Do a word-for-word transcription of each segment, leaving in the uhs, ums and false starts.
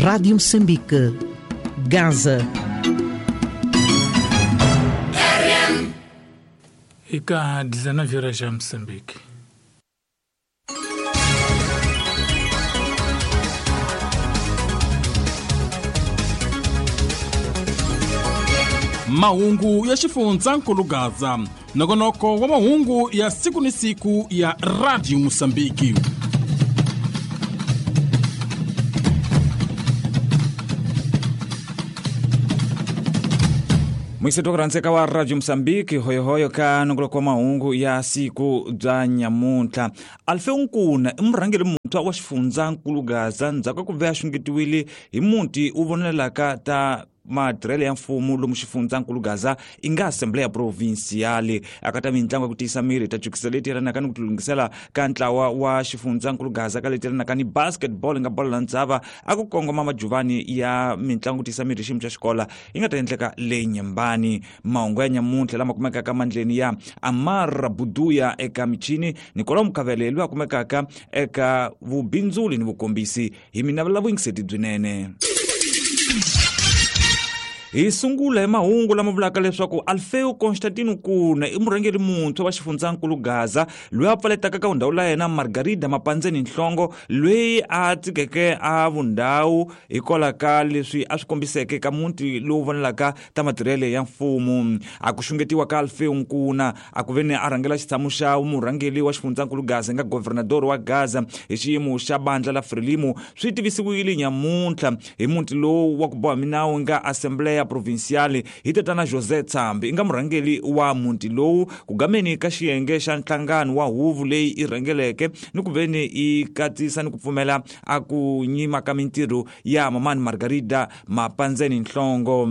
Rádio Moçambique, Gaza. Ika dezenove horas já Moçambique. Mahungu ya xifundzankulu Gaza, nongonoko wa mahungu ya siku ni siku ya Radio Mozambique. Mwiseto kurantseka wa Radio Mozambique hoyohoyo ka nongoloko wa mahungu ya siku bya nyamuntlha. Alfeu Nkuna i murhangeri muntshwa wa xifundzankulu Gaza ndzhaku ka ku ve a xungetiwile hi muti wu vonelaka ta matirhelo ya mfumo lomu xifundzankulu Gaza i nga Assembleia Provincial akata mintlangu ya ku tiyisa miri ta jukisa leti yelanaka ni ku tilunghisela ka ntlawa wa xifundzankulu Gaza ka leti yelanaka ni basketball nga bolo la ndzava a ku kongoma majuvani ya mintlangu ku tiyisa miri xiyimo xa xikola yi nga ta endleka le Nyembani. Mahungu ya nyamuntlha lama kumekaka mandleni ya Amara Buduya eka michini Nicolau Mukavele loyi a kumekaka eka vubindzuli ni vukombisi hi mina vuyingiseti byinene. Hi sungula hi mahungu lama vulaka leswaku Alfeu Constantino Nkuna i murhangeri muntshwa wa xifundzankulu Gaza loyi a pfaletaka ka vundhawu la yena Margarida Mapandzeni Nhlongo loyi a tsikeke a vundhawu hikwalaho ka leswi a swi kombiseke ka muti lowu vonelaka ta matirhelo ya mfumo. A ku xungetiwa ka Alfeu Nkuna a ku veni a rhangela xitshamo xa murhangeri wa xifundzankulu Gaza nga governador wa Gaza hi xiyimo xa bandla la Frelimo swi tivisiwile nyamuntlha hi muti lowu wa ku boha minawu nga Assembleia Provincial hi tatana José Tsambi i nga murhangeri wa muti lowu ku gameni ka xiyenge xa nhlangano wa huvo leyi i rhangeleke ni ku veni i katsisa ni ku pfumela a ku nyima ka mintirho ya mamani Margarida Mapandzeni Nhlongo.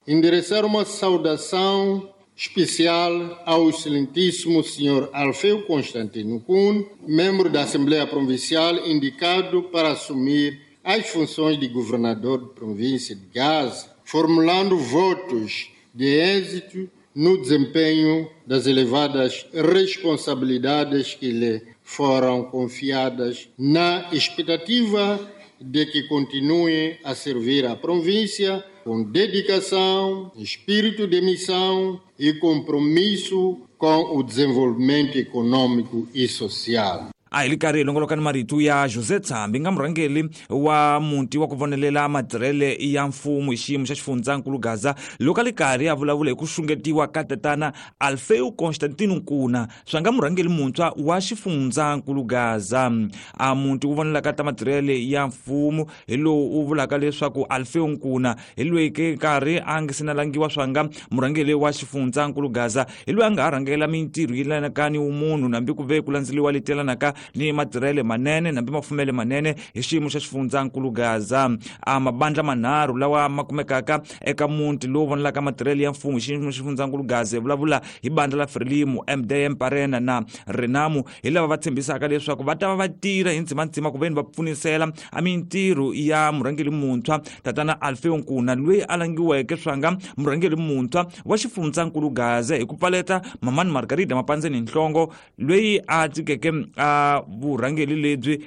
Endereçar uma saudação especial ao excelentíssimo senhor Alfeu Constantino Kuhn, membro da Assembleia Provincial indicado para assumir as funções de governador de província de Gaza, formulando votos de êxito no desempenho das elevadas responsabilidades que lhe foram confiadas, na expectativa de que continue a servir a província com dedicação, espírito de missão e compromisso com o desenvolvimento econômico e social. A hi li karhi hi longoloka ni marito ya José Tsambi nga murhangeri wa muti wa ku vonelela matirhele ya mfumo hi xiyimo xa xifundzankulu Gaza loko a li karhi a vulavula hi ku xungetiwa ka tatana Alfeu Constantino Nkuna swa nga murhangeri muntshwa wa xifundzankulu Gaza. A muti wu vonelaka ta matirhele ya mfumo hi lowu wu vulaka leswaku Alfeu Nkuna hi loyi ke karhi a nga se na langiwa swa nga murhangeri wa xifundzankulu Gaza hi loyi a nga ha rhangela mintirho yi yelanaka ni vumunhu nambi ku ve ku landzeliwa leti yelanaka ni matirhele manene nambi mafumele manene hi xiyimo xa xifundzankulu Gaza. A mabandla manharhu lawa ma kumekaka eka muti lowu vonelaka matirhele ya mfumo hi xiyimo xa xifundzankulu Gaza hi vulavula hi bandla la Frelimo, M D M Parena na Renamo hi lava va tshembisaka leswaku va ta va va tirha hi ndzimandzima ku veni va pfunisela a mintirho ya murhangeri muntshwa tatana Alfeu Nkuna loyi a langiweke swanga murhangeri muntshwa wa xifundzankulu Gaza hi ku pfaleta mamani Margarida Mapandzeni Nhlongo loyi a tsikeke a vurhangeri lebyi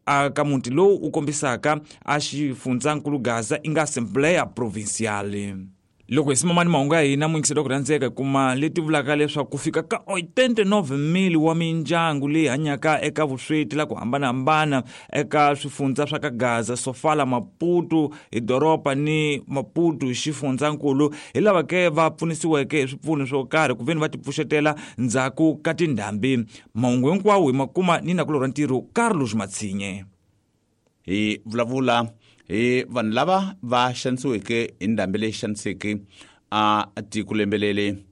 a ka muti lowu u kombisaka a xifundzankulu Gaza i nga Assembleia Provincial. Loko hi simamani mahungu ya hina muyingiselo ku rhandzeka hi kuma leti vulaka leswaku ku fika ka oitenta e nove mil wa mindyangu leyi hanyaka eka vusweti la ku hambanahambana eka swifundza swa ka Gaza, Sofala, Maputo hi doroba ni Maputo hi xifundzankulu hi lava ke va pfunisiweke hi swipfuno swo karhi ku veni va tipfuxetela ndzhaku ka tindhambi. Mahungu hinkwawo hi ma kuma ni nakulorhi wa ntirho Carlos Matsinye. Hi vulavula hi vanhu lava va xanisiweke hi ndhambi leyi xaniseke a tiko lembelele.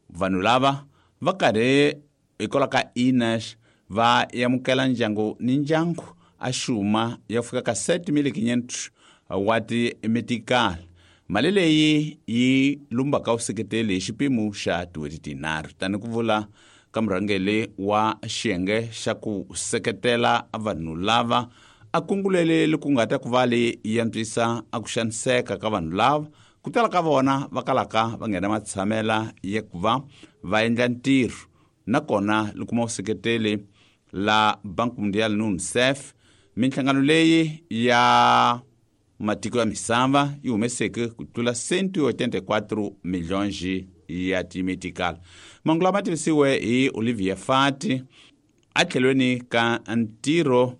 Vanhu lava va karhi hikwalaho ka I N A S va amukela ndyangu ni ndyangu a xuma ya fika ka sete mil quinhentos wa timetikali. Mali leyi yi lumbaka vuseketeli hi xipimo xa tin'hweti tinharhu tani ku vula ka murhangeri wa xiyenge xa ku seketela vanhu lava a kungulele ku nga ta ku va leyi yi antswisa a ku xaniseka ka vanhu lava ku tala ka vona va kalaka va nghena matshamela ya ku va va endla ntirho nakona li kuma vuseketeli la Banco Mundial ni UNICEF. Minhlangano leyi ya matiko ya misava yi humeseke ku tlula cento e oitenta e quatro milhões ya timetikala. Mahungu lama tivisiwe hi Olivia Fati atlhelweni ka ntirho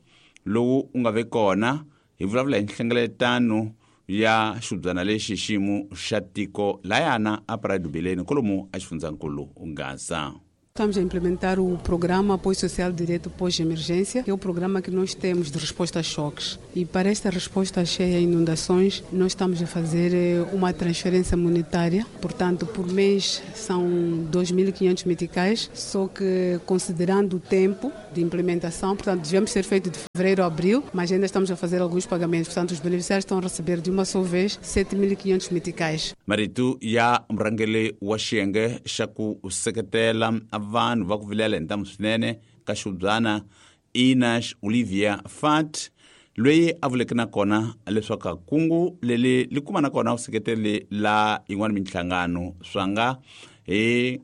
lowu u nga ve kona hi vulavula hi nhlengeletano ya xibyana lexi xiyimo xa tiko layana a Praia do Bilene kolomu a xifundzankulu Gaza. Estamos a implementar o programa Apoio Social Direto Pós-Emergência, que é o programa que nós temos de resposta a choques. E para esta resposta a cheia e inundações, nós estamos a fazer uma transferência monetária. Portanto, por mês são dois mil e quinhentos meticais, só que considerando o tempo de implementação, portanto, devemos ter feito de fevereiro a abril, mas ainda estamos a fazer alguns pagamentos. Portanto, os beneficiários estão a receber de uma só vez sete mil e quinhentos meticais. Marito ya murhangeri wa xiyenge xa ku seketela vanhu va ku vilela hi ntamu swinene ka xibyana Inas Olivia Fat loyi a vuleke na kona leswaku kungu leli li kuma na kona vuseketeli la yin'wana minhlangano swa nga hi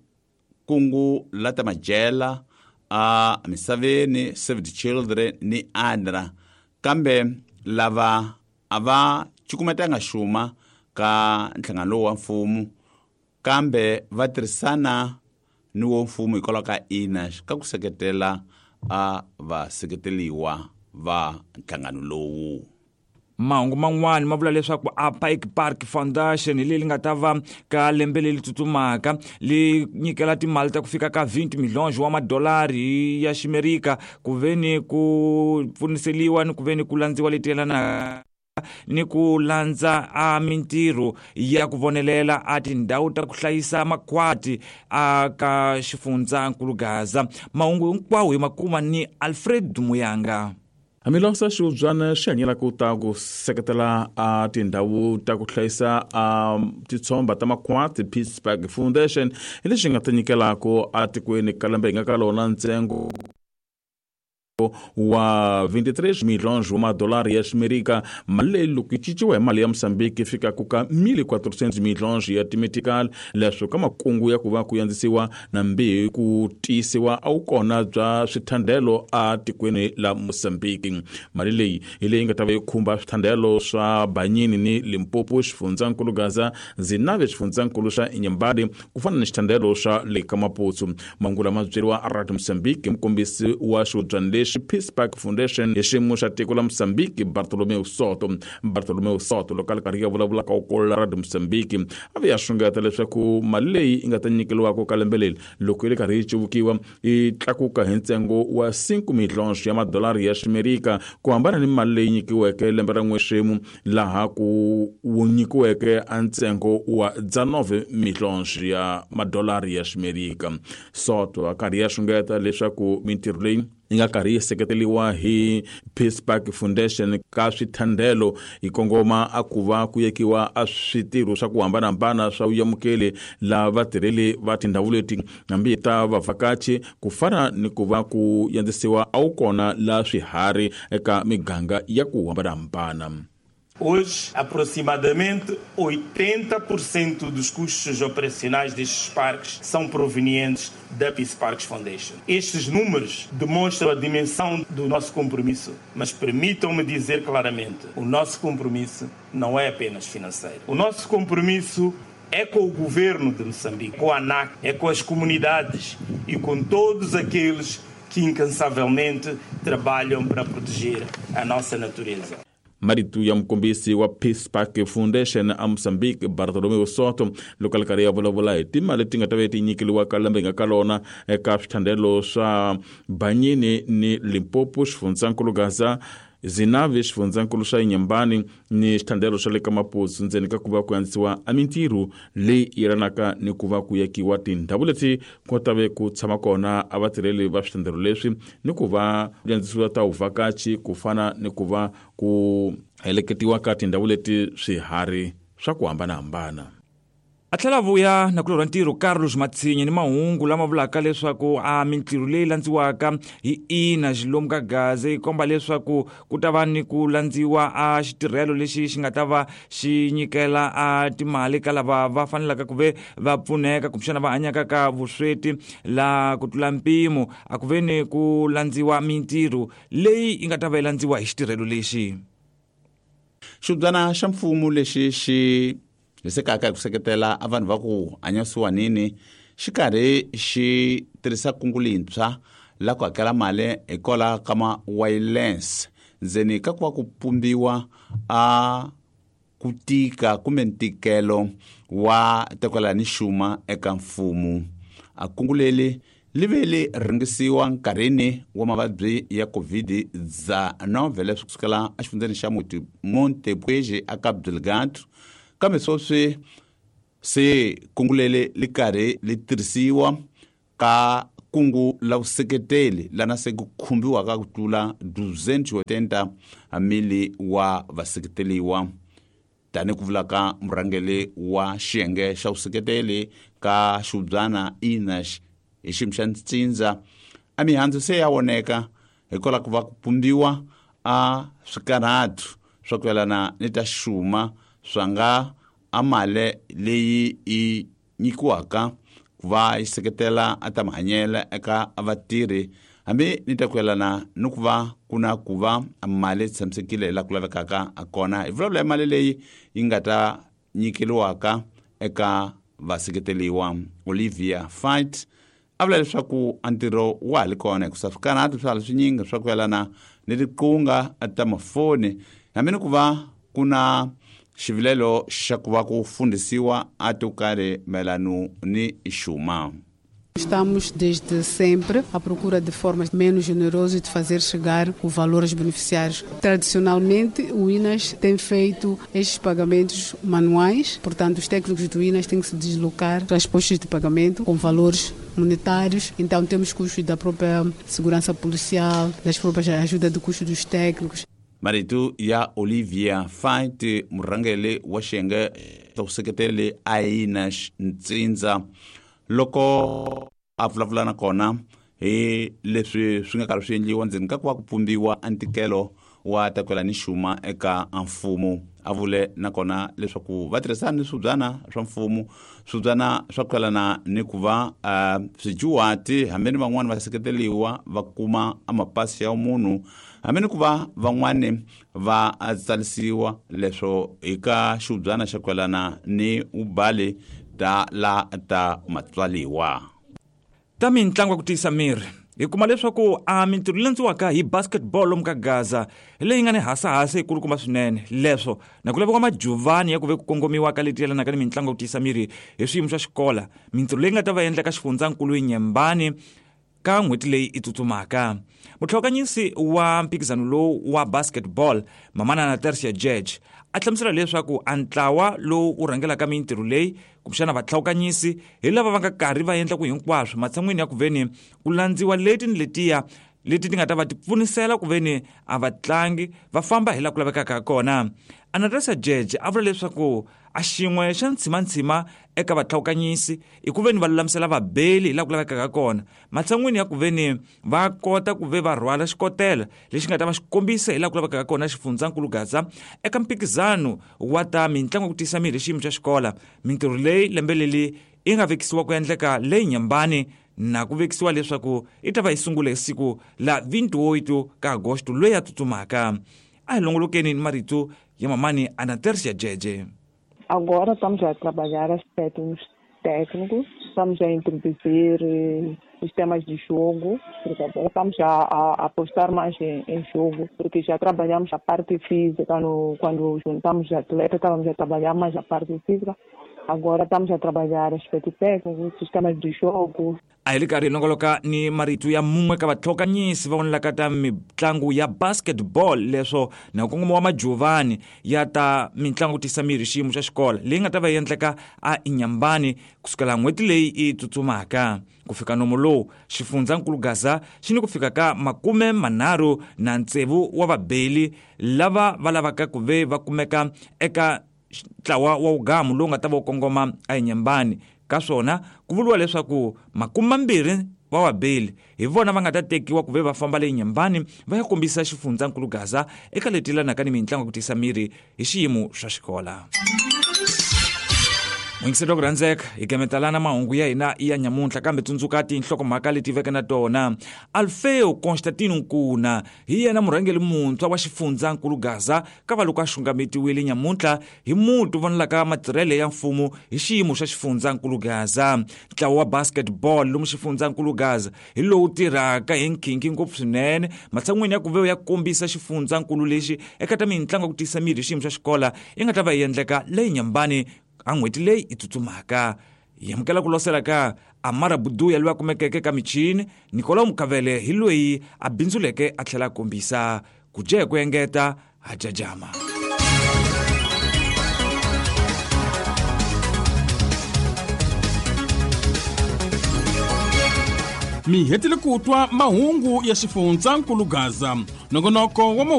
kungu la ta majela a misaveni Save the Children ni ADRA, kambe lava a va cukumetanga xuma ka nhlangano lowu wa mfumo kambe va tirhisana ni wo mfumo hikwalaho ka Inas ka ku seketela a vaseketeliwa va nhlangano lowu. Mahungu man'wani ma vula leswaku a Pike Park Foundation hi leyi nga ta va ka lembe leri tsutsumaka li nyikela timali ta ku fika ka vinte milhões wa madolari ya ximerika ku ve ni ku pfuniseliwa ni ku ve ni ku landziwa leti yelanaka ni ku landza a mintirho ya ku vonelela a tindhawu ta ku hlayisa makhwati a ka xifundzankulu Gaza. Mahungu hinkwawo hi makuma ni Alfred Muyanga. Hambiloko xibyana xi hanyela ku ta ku seketela a tindhawu ta ku hlayisa a titshomba ta makhwati Peace Park Foundation hi lexi nga ta nyikelaka a tikweni ka lembe hi nga ka lona ntsengo wa vinte e três milhões wa madolari ya ximerika. Mali leyi loko yi cinciwa hi mali ya Mozambique yi fikaka ka mil e quatrocentos milhões ya timetical. Leswo ka makungu ya ku va ku yandzisiwa nambi ku tiyisiwa a wu kona bya swithandelo a tikweni la Mozambique. Mali leyi hi leyi nga ta va yi khumba swithandelo swa Banyini ni Limpopo, xifundzankulu Gaza, Zinave, xifundzankulu xa Inhambane, ku fana ni xithandelo xa le ka Maputo. Mahungu lama byeriwa a Radio Mozambique mukombisi wa xibyana lexi Peace Park Foundation hi xiyimo xa tiko la Mozambique Bartolomeu Soto. Bartolomeu Soto loko a ri karhi ya vulavula ka ukolo la Radio Mozambique a ve ya xungeta leswaku mali leyi yi nga ta nyikeriwaka ka lembe leri loko yi ri karhi yi civukiwa yi tlakuka hi ntsengo wa cinco milhões ya madolari ya ximerika ku hambana ni mali leyi nyikiweke lembe ra n'wexemu laha ku wu nyikiweke a ntsengo wa dezenove milhões ya madolari ya ximerika. Soto a karhi ya xungeta leswaku mintirho leyi yi nga karhi yi seketeliwa hi Peace Park Foundation ka swithandelo yi kongoma a ku va ku yekiwa a switirho swa ku hambanahambana swa vuyamukeli la vatirheli va tindhawu leti hambi ta vavhakachi ku fana ni ku va ku yandzisiwa a wu kona la swiharhi eka miganga ya ku hambanahambana. Hoje, aproximadamente oitenta por cento dos custos operacionais destes parques são provenientes da Peace Parks Foundation. Estes números demonstram a dimensão do nosso compromisso, mas permitam-me dizer claramente, o nosso compromisso não é apenas financeiro. O nosso compromisso é com o governo de Moçambique, com a ANAC, é com as comunidades e com todos aqueles que incansavelmente trabalham para proteger a nossa natureza. Marito ya mukombisi wa Peace Park Foundation a Mozambique Bartolomeu Soto loko a ri karhi ya vulavula hi timali leti nga ta va ti nyikeriwa ka lembe hi nga ka lona eka swithandelo swa Banyini ni Limpopo, xifundzankulu Gaza, Zinave, xifundzankulu xa Inhambane ni xithandelo xa le ka Maputo ndzeni ka ku va ku andzisiwa a mintirho leyi yelanaka ni ku va ku yekiwa tindhawu leti ku ta ve ku tshama kona a vatirheli va swithandelo leswi ni ku va andzisiwa ta vuvhakachi ku fana ni ku va ku heleketiwa ka tindhawu leti swiharhi swa ku hambanahambana. A tlhela vuya na kulorha ntirho Carlos Matsinye ni mahungu lama vulaka leswaku a mintirho leyi landziwaka hi ina xilomu ka Gaza yi komba leswaku ku ta va ni ku landziwa a xitirhelo lexi xi nga ta va xi nyikela a timali ka lava va fanelaka ku ve va pfuneka kumbexana va hanyaka ka vusweti la ku tlula mpimo a ku ve ni ku landziwa mintirho leyi yi nga ta va yi landziwa hi xitirhelo lexi. Xibyana xa mfumo lexi xi hisekaka hi ku seketela a vanhu va ku hanya siwanini xi karhi xi tirhisa kungu lintshwa la ku hakela mali hikwalaho ka ma-wireless ndzeni ka ku va ku pumbiwa a ku tika kumbe ntikelo wa tekwela ni xuma eka mfumo. A kungu leri li ve li ringisiwa nkarhini wa mavabyi ya COVID dezenove leswi kusukela exifundzeni xa Montepuez a Cabo Delgado, kambe sweswi se kungu leri li karhi li tirhisiwa ka kungu la vuseketeli lana se ku khumbiwaka ku tlula duzentos e oitenta mili wa vaseketeliwa, tani ku vulaka murhangeri wa xiyenge xa vuseketeli ka xibyana Ines hi xiyimo xa ntsindza. A mihandzu se ya voneka hikwalaho ku va ku pumbiwa a swikarhatu swa ku yelana ni ta xuma swa nga a mali leyi yi nyikiwaka ku va yi seketela a ta mahanyelo eka vatirhi, hambi ni ta ku yelana ni ku va ku na ku va mali yi tshamisekile laha ku lavekaka kona. Hi vulavula hi mali leyi yi nga ta nyikeriwaka eka vaseketeliwa. Olivia Fight a vula leswaku a ntirho wa ha li kona hikusa swikarhatu swa ha li swinyingi swa ku yelana ni tiqunga ta mafoni, hambi ni ku va ku na xivilelo xa ku va ku fundhisiwa a to karhi mayelano ni xuma. Estamos desde sempre à procura de formas menos generosas de fazer chegar o valor aos beneficiários. Tradicionalmente, o INAS tem feito estes pagamentos manuais, portanto, os técnicos do INAS têm que se deslocar para as postas de pagamento com valores monetários. Então, temos custos da própria segurança policial, das próprias ajuda de custo dos técnicos. Marito ya Olivia Fight, murhangeri wa xiyenge xa vuseketeli a INAS ntsindza, loko a vulavula na kona hi leswi swi nga karhi swi endliwa ndzeni ka ku va ku pumbiwa a ntikelo wa takwela ni xuma eka mfumo. A vule nakona leswaku va tirhisana ni swibyana swa mfumo, swibyana swa ku yelana ni ku va uh, swijuwati hambi ni van'wani va seketeliwa va kuma a mapasi ya munhu, hambi ni ku va van'wani va tsalisiwa leswo eka xibyana xa ku yelana ni ubali ta la ta matswaliwa. Ta mintlangu ya ku tiyisa miri hi kuma leswaku a mintirho leyi landziwaka hi basketball lomu ka Gaza leyi nga ni hasahasa yikulukumba swinene, leswo na ku laviwa majuvani ya ku ve ku kongomiwa ka leti yelanaka ni mitlangu ya ku tiyisa miri hi swiyimo swa xikola, mintirho leyi nga ta va endleka xifundzankulu Nyembani ka n'hweti leyi i tsutsumaka. Mutlhokanyisi wa mphikizano lowu wa basketball Mamanana Tertia Judge a hlamusela leswaku a ntlawa lowu wu rhangelaka mintirho leyi kumbexana vatlhawukanyisi hi lava va nga karhi va endla ku hinkwaswo matshan'wini ya ku veni ku landziwa leti ni letiya leti ti nga ta va ti pfunisela ku veni a vatlangi va famba hi laha ku lavekaka kona. Anatresa Judge a vula leswaku a xin'we xa ntshimantsima eka vatlhawukanyisi i ku veni va lulamisela vabeli hi laha ku lavekaka kona, matshan'wini ya ku veni va kota ku ve va rhwala xikotela lexi nga ta va xi kombisa hi laha ku lavekaka kona xifundzankulu Gaza eka mphikizano wa ta mitlangu ya ku tiyisa miri hi xiyimo xa xikola. Mintirho leyi lembe leri yi nga vekisiwa ku endleka leyi Nyembani na ku vekisiwa leswaku i ta va yi sungula hi siku la vinte e oito ka agosto loyi a tsutsumaka. A hi longolokeni ni marito ya mamani Anatersia Jeje. Agora estamos a trabalhar aspectos técnicos, estamos a introduzir sistemas de jogo, porque agora estamos a, a apostar mais em, em jogo, porque já trabalhamos a parte física, no, quando juntamos atletas, estávamos a trabalhar mais a parte física, agora estamos a trabalhar aspecto técnico, sistemas de jogo. A hi ri karhi hi longoloka ni marito ya mun'we ka vatlhokanyisi va vonelaka ta mitlangu ya basketball leswo na nkongomo wa majuvani ya ta mitlangu ku tiyisa miri xiyimo xa xikola leyi nga ta va yi endleka a Inyambani kusukela n'hweti leyi yi tsutsumaka ku fika nomo lowu xifundzankulu Gaza xi ni ku fika ka makume manharhu na tsevu wa vabeli lava va lavaka ku ve va kumeka eka ntlawa wa wugamu lowu nga ta va wu kongoma a Inyambani. Ka swona ku vuriwa leswaku makume mambirhi wa vabeli hi vona va nga ta tekiwa ku ve va famba le Nyembani va ya kombisa xifundzankulu Gaza eka leti yelanaka ni mitlangu ya ku tiyisa miri hi xiyimo xa xikola. Muyingiseri wa ku rhandzeka, hi gemetalana mahungu ya hina ya nyamuntlha, kambe tsundzuka tinhlokomhaka leti veke na tona. Alfeo Constantino Nkuna hi yena murhangeri muntshwa wa xifundzankulu Gaza, kava loko a xungametiwile nyamuntlha hi muti vonelaka matirhele ya mfumo hi xiyimo xa xifundzankulu Gaza. Ntlawa wa basketball lomu xifundzankulu Gaza hi lowu tirhaka hi nkhinkhi ngopfu swinene, matshan'wini ya ku ve ya kombisa xifundzankulu lexi eka ta mintlangu ya ku tiyisa miri hi xiyimo xa xikola yi nga ta va yi endleka leyi nyambani a n'hweti leyi i tsutsumaka. Hi amukela ku losela ka Amara Buduya loyi a kumekeke ka michini, Nicolau Mukavele hi loyi a bindzuleke a tlhela a kombisa ku dya hi ku engeta ha jajama. Mi hetile ku twa mahungu ya xifundzankulu Gaza, nongonoko wa mahungu.